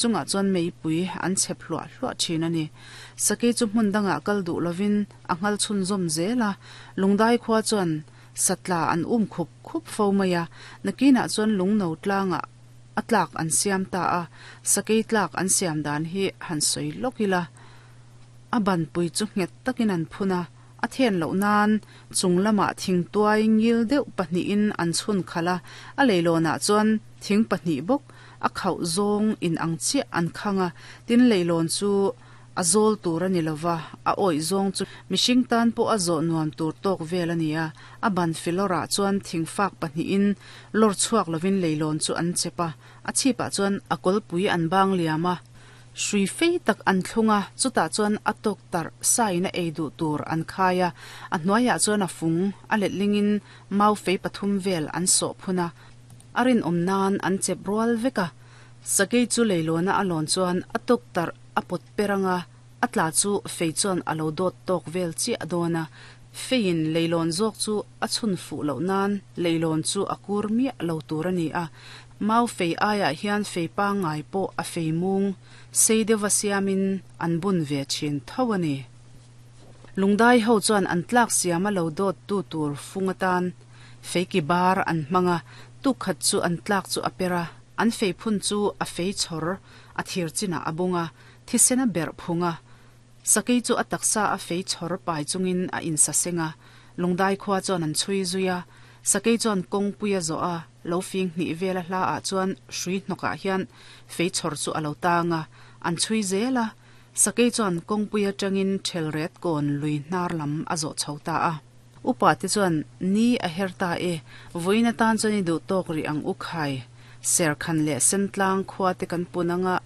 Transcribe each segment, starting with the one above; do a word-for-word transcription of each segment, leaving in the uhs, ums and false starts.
Chungah chuan meipui an chhep hluah hluah thin a ni. Sakei chu hmun dangah kal duh lovin a nghal chhunzawm zel a, Lungdai khua chuan satla an um khup khup fo mai a, nakinah chuan lungno tlangah a tlak an siam ta a, sakei tlak an siam dan hi han sawi lawk ila. A banpui chu nghet takin an phun a, a then loh nan chung lamah thing tuai ngil deuh pahnihin an chhun khalh a, a leilawnah chuan thing pahnih bawk a khauh zawng in ang chiah an khang a, tin leilawn chu a zawl tur a ni lova, a awih zawng chu mihring tan pawh a zawh nuam tur tawk vel a ni a, a ban filawrah chuan thing fak pahnihin lawr chhuak lovin leilawn chu an chep a, a chhipah chuan a kawlpui an bang liam a, hrui fei tak an thlung a, chutah chuan a tawk tarh sain a ei duh tur an khai a, a hnuaiah chuan a fung a letlingin mau fei pathum vel an sawh phun a, a rinawm nan an chep rual vek a. Sakei chu leilawna a lawn chuan a tawk tarh a pawt per anga a tla chu fei chuan a lo dawt tawk vel chiah dawn a, feiin leilawn zawk chu a chhun fuh loh nan leilawn chu a kur miah lo tur a ni a. Mau fei aiah hian fei pangngai pawh a fei mung sei deuha siamin an bun ve thin tho a ni. Lungdai ho chuan an tlak siama lo dawt tu tur fung atan fei ki bar an hmang a, tukhat chu an tlak chu a per a, an fei phun chu a fei chhawr a thir chinah a bung a, thisen a berh phung a, sakei chu a taksa a fei chhawr pai chungin a insaseng a, Lungdai khua chuan an chhui zui a, sakei chuan kawngpui a zawh a, lo fing hnih vel a hla ah chuan hrui hnawkah hian fei chhawr chu a lo tang a, an chhui zel a, sakei chuan kawngpui atangin thelret kawn lui hnar lam a zawh chho ta a. Upa te chuan ni a her ta e, vawiin atan chuan i duh tawk rih ang u khai, Serkhan leh Sentlang khua te kan pun anga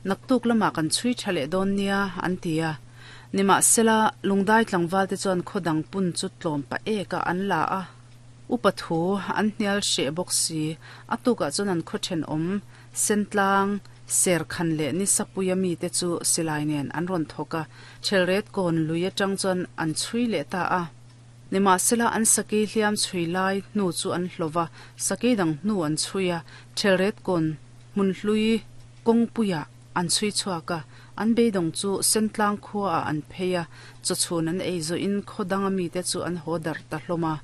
naktuk lamah kan chhui tha leh dawn nia an ti a. Nimahsela, Lungdai tlangval te chuan khaw dang pun chu tlawm pah ek a an la a. Upa thu an hnial hreh bawk si, a tukah chuan an khaw thenawm Sentlang, Serkhan leh Nisapuia mite chu silai nen an rawn thawk a, Thelret kawn lui atang chuan an chhui leh ta a. Nimahsela, an sakei hliam chhui lai hnu chu an hlawh a, sakei dang hnu an chhui a, Thelret kawn hmun hlui kawngpuiah an chhui chhuak a, an beidawng chu Sentlang khuaah an phei a, chawchhun an ei zawhin khaw danga mite chu an haw darh ta hlawm a.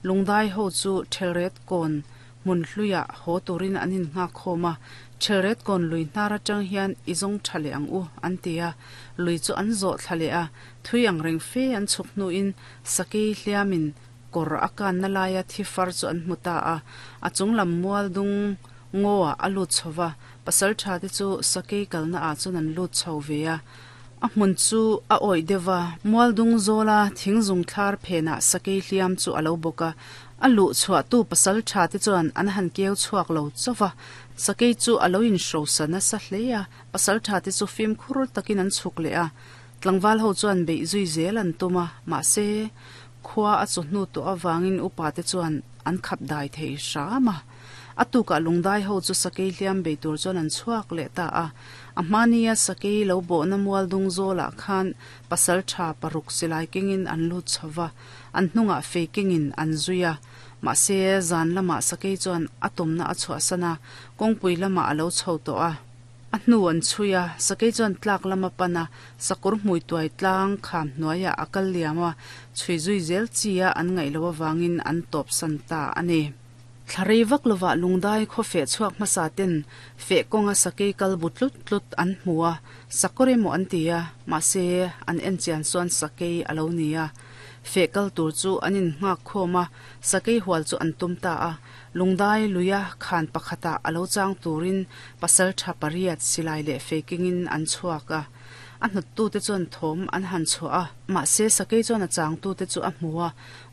Lungdai ho chu Thelret kawn hmun hluiah haw turin an innghak khawm a, Thelret kawn lui hnar atang hian i zawng tha leh ang u, an ti a, lui chu an zawh thla leh a, thui ang reng fe an chhuk hnuin sakei hliamin kawr a kanna laia thi far chu an hmu ta a, a chunglam mual dung ngaw-ah a lut chho va, pasal tha te chu sakei kalna ah chuan an lut chho ve a, a hmun chu a awih deuh va, mual dung zawla thing zung thlar phenah sakei hliam chu a lo bawk a, a luh chhuahtu pasal tha te chuan an han keu chhuak lo chauh va, sakei chu a lo inhrosa nasa hle a, pasal tha te chu fimkhur takin an chhuk leh a, tlangval ho chuan beih zui zel an tum a, mahse khua a chu hnu tawh avangin upa te chuan an khap dai thei hram a. A tukah Lungdai ho chu sakei hliam bei tur chuan an chhuak leh ta a. A hmania sakei lo bawhna mual dung zawlah khan pasal tha paruk silai kengin an lut chho va, an hnungah fei kengin an zui a. Mahse, zan lamah sakei chuan a tawmna a chhuahsan a, kawngpui lamah a lo chho tawh a. A hnu an chhui a, sakei chuan tlak lam a pan a, sakawr hmui tuai tlang kham hnuaiah a kal liam a, chhui zui zel chi a an ngaih loh avangin an tawpsan ta a ni. Thla rei vak lovah Lungdai khaw feh chhuak hmasa ten feh kawnga sakei kal bu tlut tlut an hmu a, sakawr emaw an ti a, mahse an en chian chuan sakei a lo ni a. Feh kal tur chu an innghak khawm a, sakei hual chu an tum ta a. Lungdai luia khan pakhatah a lo chang turin pasal tha pariat silai leh fei kengin an chhuak a. A hnawttute chuan thawm an han chhuah a, mahse sakei chuan a changtute chu a hmu a,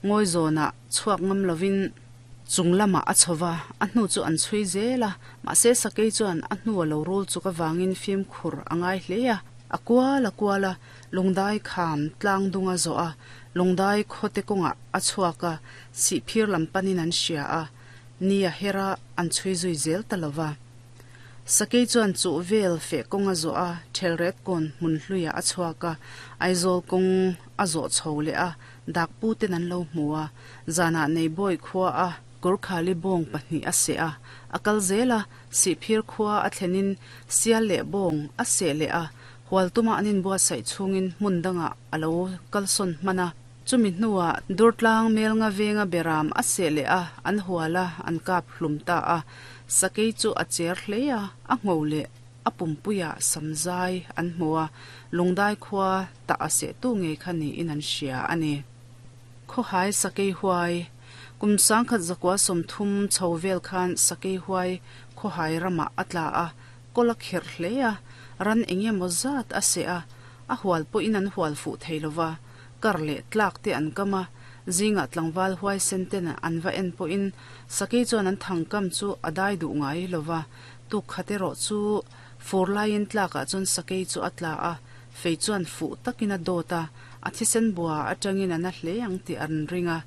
ngawi zawnah chhuak ngam lovin chung lamah a chho va, a hnu chu an chhui zel a, mahse sakei chuan a hnu a lo rul chuk avangin fimkhur a ngai hle a, a kual a kual a, lungdai kham tlang dung a zawh a, lungdai khawte kawngah a chhuak a, sihphir lam panin an hria a, ni a her a, an chhui zui zel ta lo va. Sakei chuan chuh vel feh kawng a zawh a, Thelret kawn hmun hluiah a chhuak a, Aizawl kawng a zawh chho leh a, Dakpu ten an lo hmu a, zanah Neibawi khua a Gorkhali bawng pahnih a seh a, a kal zel a, Sihphir khua a thlenin sial leh bawng a seh leh a, hual tuma an inbuatsaih chhungin hmun dangah a lo kalsawn hman a. Chumi hnuah Durtlang Melnga venga beram a seh leh a, an hual a, an kap hlum ta a. Sakei chu a cher hle a, a ngho leh a pumpuiah samzai an hmu a, Lungdai khua tah a sehtu ngei kha niin an hria a ni. Khawhai Sakei Huai, Kum sangkhat zakua sawmthum chho vel khan Sakei Huai khawhai ramah a tla a, kawl a kherh hle a, ran eng emaw zat a seh a, a hual pawhin an hual fuh thei lo va, kar leh tlak te an kam a, zingah tlangval huaisen ten an va en pawhin Sakei chuan an thangkam chu a dai duh ngai lo va, tuk khat erawh chu fur laiin tlakah chuan Sakei chu a tla a, fei chuan fuh takin a dawt a, a thisen bua atangin a na hle ang tih an ring a.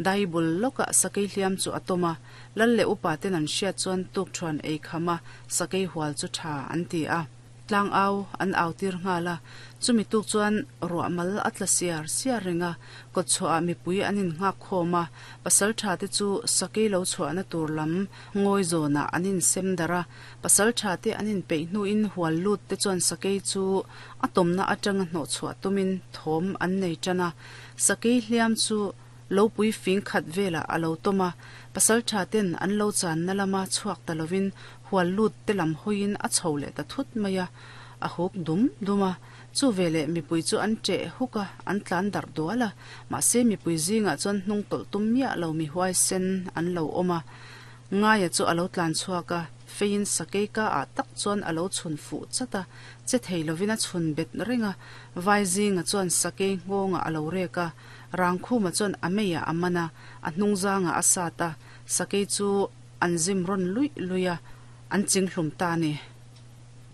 Dai bul lawkah Sakei hliam chu a tawm a, Lal leh upa ten an hriat chuan tuk thuan ei kham a, Sakei hual chu tha an ti a. Tlang au an au tir nghal a, chumi tuk chuan ruah mal a tla siar siar reng a, kawt chhuahah mipui an innghak khawm a, pasal tha te chu Sakei lo chhuahna tur lam ngawi zawnah an insem darh a, pasal tha te an inpeih hnuin hual lut te chuan Sakei chu a tawmna atanga hnawh chhuah tumin thawm an nei tan a, Sakei hliam chu Lopui fing khat velah a lo tawm a, pasal tha ten an lo channa lama chhuak ta lovin hual lut te lam hawiin a chho leh ta thut mai a, a huk dum dum a. Chu veleh mipui chu an ṭeh huk a, an tlan darh dual a, mahse mipui zingah chuan hnung tawlh tum miah lo mi huaisen an lo awm a. Ngaia chu a lo tlan chhuak a, feiin sakei ka ah tak chuan a lo chhun fuh chat a, che thei lovin a chhun bet reng a, vai zinga chuan sakei nghawngah a lo rek a, Rangkhuma chuan a meiah a man a, a hnungzangah a sat a, sakei chu an zim rawn luih luih a, an ching hlum ta a ni.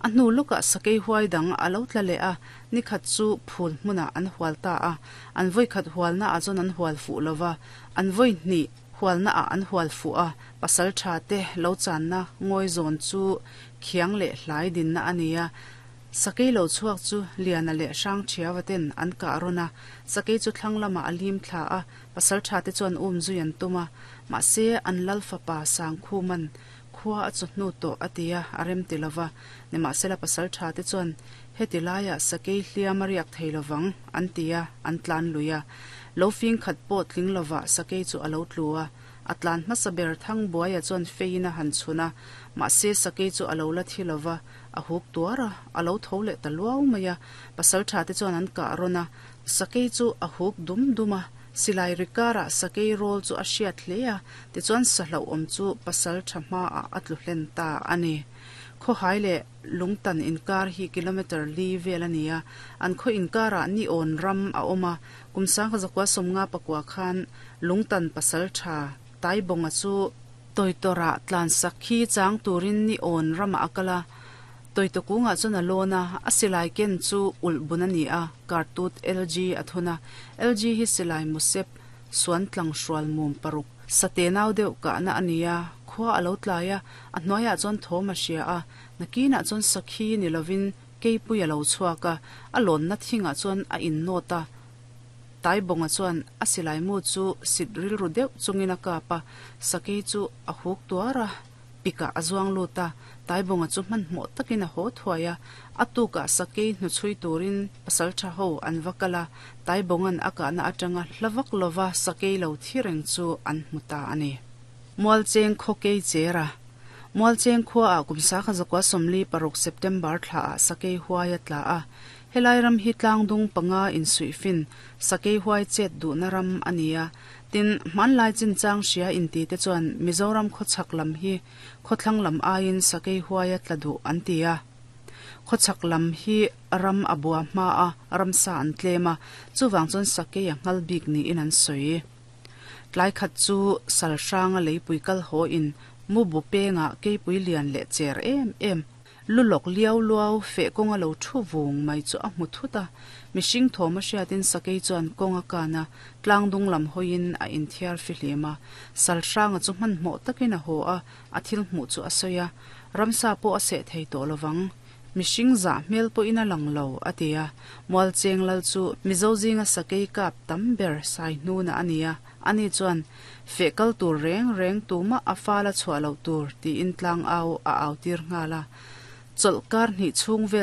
A hnu lawkah sakei huai dang a lo tla leh a, nikhat chu phul hmunah an hual ta a, an vawikhat hualna ah chuan an hual fuh lo va, an vawi hnih hualna ah an hual fuh a, pasal tha te lo channa ngawi zawn chu khiang leh hlai dinna a ni a, Sakei lo chhuak chu Liana leh Hrangṭhiava ten an kah rawn a, sakei chu thlang lamah a lim thla a, pasalṭha te chuan um zui an tum a, mahse an lal fapa Sangkhuman khua a chu hnu tawh a ti a, a rem ti lova, nimahsela pasalṭha te chuan heti laiah sakei hliam a riak thei lovang an ti a, an tlan lui a. Lo fing khat pawh tling lovah sakei chu a lo tlu a, a tlan hmasa ber Thangbuaia chuan feiin a han chhun a, mahse sakei chu a lo la thi lova, A huk tuar a, a lo tho leh ta luau mai a, pasaltha te chuan an kah rawn a, sakei chu a huk dum dum a, silai ri karah sakei rawl chu a hriat hle a, tichuan sahlauhawm chu pasaltha hmaah a tlu hlen ta a ni. Khawhai leh Lungtan inkar hi kilometre li vel a ni a, an khaw inkarah Niawn ram a awm a, kum sangha zakua sawmnga pakua khan Lungtan pasaltha Taibawnga chu Tawitawrah tlansak khi chang turin ni awn ramah a kal a, Tawitaw kungah chuan a lawn a, a silai ken chu ulh bun a ni a, kartut L G a thun a, L G hi silai musep suan tlang hrual mum paruk sate nau deuh kahna a ni a, khua a lo tlai a, a hnuaiah chuan thawm a hria a, nakinah chuan sakhi ni lovin keipui a lo chhuak a, a lawnna thingah chuan a innawt a. Taibawnga chuan a silai mu chu sit rilru deuh chungin a kap a, sakei chu a huk tuar a, pikah a zuang lut a, Taibawnga chu hmanhmawh takin a haw thuai a, a tukah sakei hnuchhui turin pasaltha ho an va kal a, Taibawnga'n a kahna atanga hla vak lova sakei lo thi reng chu an hmu ta a ni. Mualcheng khaw kei cher a. Mualcheng khuaah kum sakha zakua sawmli paruk September thlaah sakei huai a tla a, Helai ram hi tlangdung panga insuihfin sakei huai chet duhna ram a ni a, tin, hmanlai chinchang hria inti te chuan Mizoram khawchhak lam hi khawthlang lam aiin sakei huai a tla duh an ti a. Khawchhak lam hi ram a bua hma a, ramsa an tlem a, chuvang chuan sakei a nghal bik niin an sawi. Tlai khat chu sal hranga leipui kal haw in mu bu pengah keipui lian leh cher em em, Lu lawk liau luau feh kawnga lo thu vung mai chu a hmu thut a, mihring thawm a hriatin sakei chuan kawng a kan a, tlang dung lam hawiin a inthiar fihlim a. Salhranga chu hmanhmawh takin a haw a, a thil hmuh chu a sawi a, ramsa pawh a seh thei tawh lovang. Mihring zah hmel pawhin a lang lo, a ti a. Mualcheng lal chu Mizo zinga sakei kap tam ber Saihnuna a ni a. Ani chuan, Feh kal tur reng reng tumah a fala chhuah loh tur, tiin tlangau a au tir nghal a. Chawlhkar hnih chhung vel